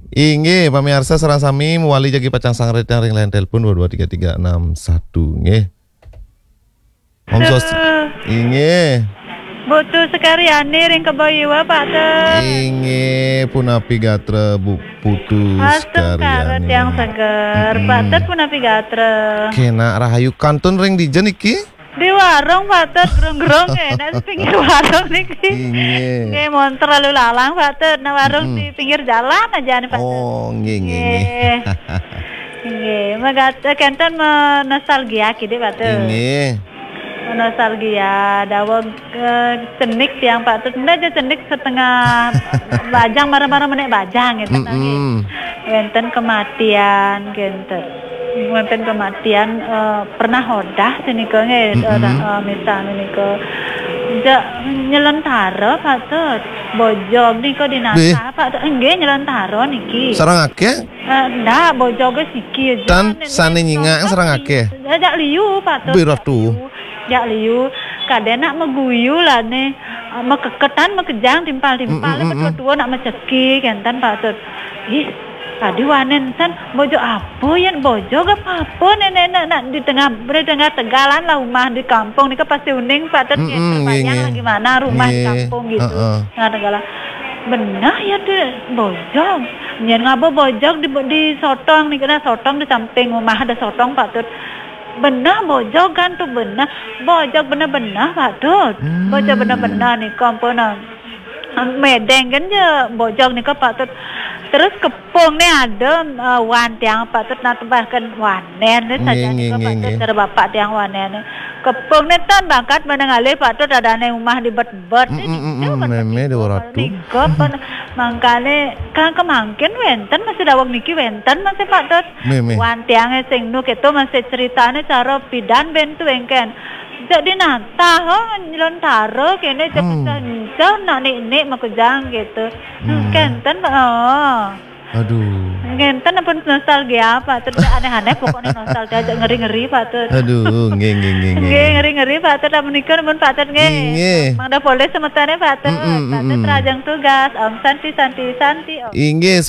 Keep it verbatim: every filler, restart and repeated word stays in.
Inggih, pamiarsa sareng sami mawali jagi pacang sangret ring line telepon dua dua tiga tiga enam satu, nggih. Om Swastiastu. Inggih. Putu Sekaryani ring Kebo Iwa, Pak Tut. Inggih, punapi gatra Bu Putu Sekaryani. Tiang seger. Pak Tut, punapi gatra? Kenak rahayu. Kantun ring dija niki? Di warung, Pak Tut, grung-grung, enak di pinggir warung niki. Inggih. Nggih, montor lalu lalang, Pak Tut. Nah, warung di pinggir jalan aja nih, Pak Tut. Oh, nggih, nggih, nggih. Nggih. Nggih, magatra kenten menostalgia kidik, Pak Tut. Inggih. Menostalgia, daweg, eh, cenik tiang, Pak Tut. Ndak aja cenik setengah bajang, marah-marah menek bajang gitu, nggih. Wenten kematian, kenten. Wenten kematian, eh, pernah odah senika nggih, eh, eh, misal menika. Jak nyelentara, Pak Tut. Bojog nika dinatah, Pak Tut. Nggih, nyelentara niki. Sareng akeh? Eh, ndak, bojoge siki aja. Tan sane nyingak sareng akeh. Jak liu, Pak Tut. Bih, ratu. Jak liu. Kade nak maguyu lah ne. Eh, makeketan, makejang, timpal-timpal, tua-tua nak maceki, kenten, Pak Tut. Ih, tadi wanen san, bojog apa yen? Bojog apa-apa, nenek nak, nak di tengah, di tengah tegalan lah rumah di kampung nika pasti uning, Pak Tut, nggih, terbayang lah gimana rumah di kampung gitu. Tengah tegalan. Benah ya tu bojog. Nyen ngaba bojog di, di sotong nika, nah, sotong di samping rumah ada sotong, Pak Tut. Benah bojog kan tu benah. Bojog benah-benah, Pak Tut. Bojog benah-benah nika ampun, ah. Medeng kan je bojog nika, Pak Tut. Terus kepung ni ada, eh, wan tiang, Pak Tut, nak tebahkan wanen ni saja nika, Pak Tut, cara bapak tiang wanen ni. Kepung ni tan bangkat meneng alih, Pak Tut, ada ni rumah di bet-bet ni, meme dua ratus. Nika pun mangkane kan kemangkin wenten masih daweg niki wenten masih, Pak Tut. Meme. Wan tiange sing nu keto masih ceritane cara pidan bentu engken. Jak dinatah, oh, nyelentara kene jak pecah-pecah nak nik-nik makejang gitu. Kenten, Pak. Oh. Aduh. Ngenten pun nostalgia, Pak Tut. Aneh-aneh pokoknya nostalgia, jak ngeri-ngeri, Pak Tut. Aduh, nggih, nggih, nggih, nggih. Nggih, ngeri-ngeri, Pak Tut. Amun nika pun, Pak Tut, nggih. Nggih. Mangda polih semetone, Pak Tut. Pak Tut, rajang tugas. Om Santi, Santi, Santi, Om. Inggih,